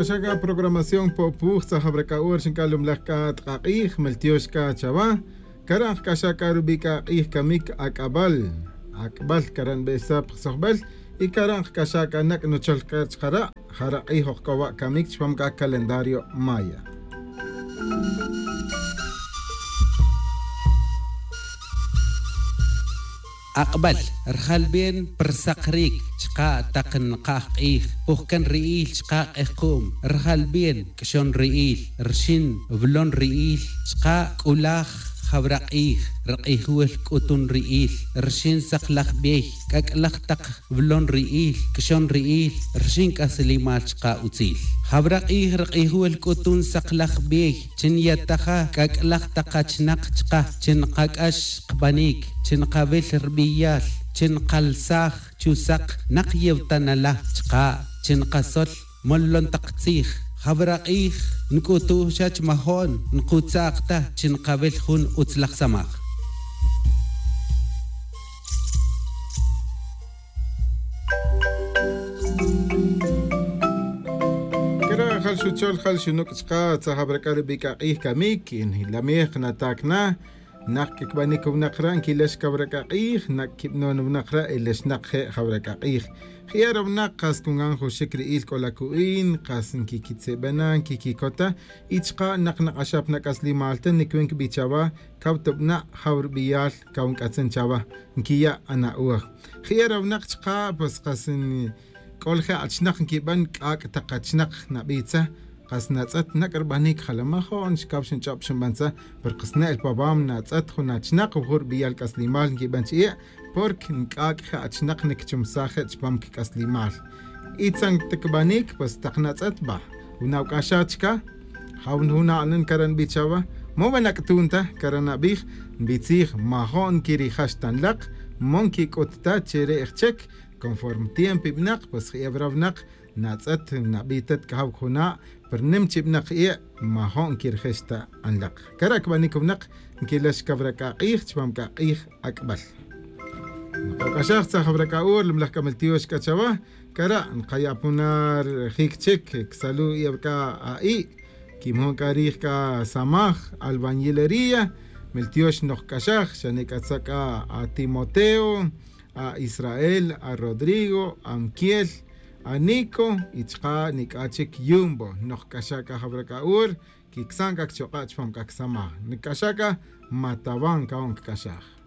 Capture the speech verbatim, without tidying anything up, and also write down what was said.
Nqak'axaka programación popuj tzajabrakaur xinkalumlajka tqaq'ij meltioxka chawa karaj k'axaka rub'ika q'ij kamik ak'ab'al ak'b'al karan b'esap qsojb'al y karaj k'axaka nak nocholka chqara jara q'ij ojk'owa kamik chpam ka calendario maya. Aqb'al rjalb'en persaqrik chqa taq nqaj q'ij pujkan ri'il chqa q'ejqum rjalb'en k'xon ri'il rxin vlon ri'il chqa k'ulaj jawraq'ij rq'ijwel k'utun ri'il rxin saqlaj b'ey k'ak'laj taq vlon ri'il k'xon ri'il rxin k'aslimal chqa utzil jawraq'ij rq'ijwel k'utun saqlaj b'ey chin yataja k'ak'laj taq achnaq chqa chin qak'ax qb'anik chin qawil rb'iyal chin qalsaj chusaq naq yewtanala chqa chin qasol mollon taq tzij jawraq'ij nk'utu xach majon nqutzaqta chin qawil jun utzlaj samaj. Kera jal xuchol jal xunuk chqa tzajabraka rub'ika q'ij kamik lamej natakna naq kikb'anik wnaqra nkilex kawraka q'ij nak kib'non wnaqra ilex naq je' jawraka q'ij ji'ar wnaq qas kungan juxik ri'il k'olaku'in qas nkikitzeb'ena nkikikota y chqa naq naq'axap nak'aslimalta nikwin kb'ichawa kawtob'na jawrb'iyal kawnk'atzen chawa nkiya' ana'uaj ji'ar wnaq chqa pues qas k'ol je' achnaq nkib'an k'ak' taq achnaq nab'itza qas natz'at nak rb'anik jalamajo'n xkab' xinch'ob' xinb'antza per qas ne'l pab'am natz'at jun achnaq ujur b'iyal k'aslimal nkib'an chi'i' porque nk'ak' je' achnaq nikchumsaj je' chpam kk'aslimal itzan tikb'anik pues taq natz'at b'a unawk'axachka jawn juna'nan karan b'ichawa mo nak'tunta karan nab'ij nb'itzij majo'n kirijax tanlaq mon kik'utta chere'j chek conforme tiempo ib'naq pues ji'eb'rawnaq natz'at nab'itat k'ajaw juna' per nim chib'naq ie' majo'n kirjexta anlaq karak b'anik wnaq nkilex kawraka q'ij chpam ka q'ij ak'b'al nqak'axaj tzajawraka'ur limlaj k'ameltiox k'achawa kara' nqayapunar jik chik ksalu i'eb'ka a'i' kimjon k'arij ka samaj albañilería meltiox noqk'axaj xanik'atzaka a Timoteo a Israel a Rodrigo a Mkiel a Nico y chqa nik'achik Yumbo noqk'axaka jawraka'ur kiksan kak choq'a chpam kak samaj nik'axaka matawan ka'on k'axaj.